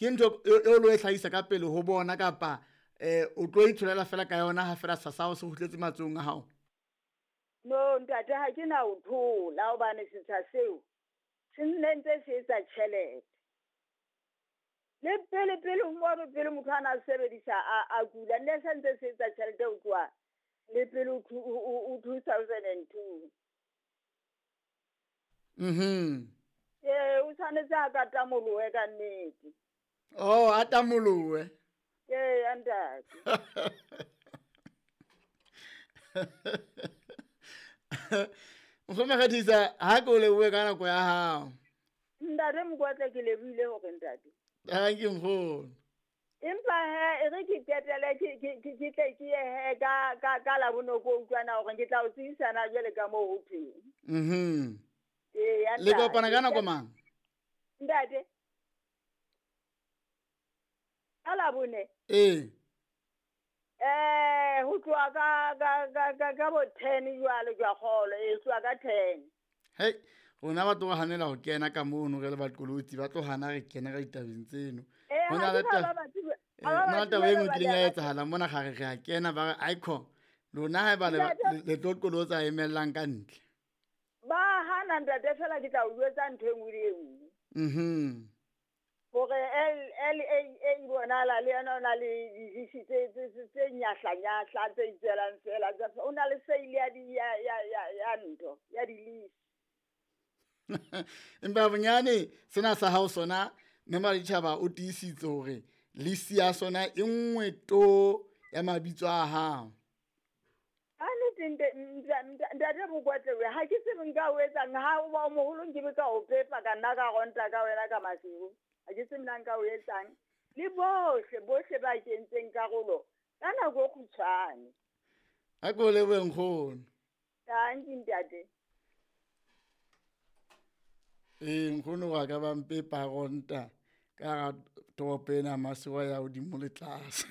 Ke ntho e lo e hlahisa ka pele ho bona kapa o tlo itholela fela ka yona ha fela setsha sa hao se kgutletse matsohong a hao? No ntate, ha ke na ho thola hobane setsha seo se nne ntse se etsa tjhelete. Le pele pele mono pele motho a na sebedisa a kula, nne se ntse se etsa tjhelete ho tloha le pele ho 2002. Ee, o tshwanetse a ka tamolohe ka nnete. Oh, a tamolohe. Ee, ntate. Nkgono Makgethisa, ha ke o lebohe ka nako ya hao. Ntate Mokoatle, ke lebohile hore ntate. Thank you nkgono. Empa he e re ke qetele ke tle ke ye he ka Labone ko utlwana hore ke tla o tsebisana jwale ka moo ho thweng. Ee, Le kopana ka nako mang? Ntate. Ka Labone. Ee. Ho tloha ka bo 10 jwale jwa kgolo, e tloha ka 10. Hey, rona ba tlo hanela ho kena ka mono re le baqolotsi, ba tlo hana re kena ka ditabeng tseno. Ho na le taba e nngwe kileng ya etsahala mona ga re a kena ba re aikho lona haeba le tlo qolotsa emellang ka ntle. Ba hana ntate, fela ke tla o jwetsa ntho e nngwe le e nngwe. Hore LAA bonala le yena o na le dilisi tse nyahlanyahla tse itswelang fela, o na le seile ya ntho ya dilisi. Empa bonyane sena sa hao sona mme Maditjhaba o tiisitse hore lisi ya sona e nngwe to ya mabitso a hao. A nnete ntate Mokoatle, ha ke tsebe nka o etsang ha o ba moholo nke be ka o pepa ka nna ka ronta ka wena ka masiu. Ha ke tsebe nna nka o etsang. Le bohle ba kentseng karolo ka nako e kgutshwane. Ha ke o lebohe nkgono. Thank you ntate. Ee, nkgono wa ka ba mpepa ronta ka hara toropo ena masiu ya hodimo le tlase.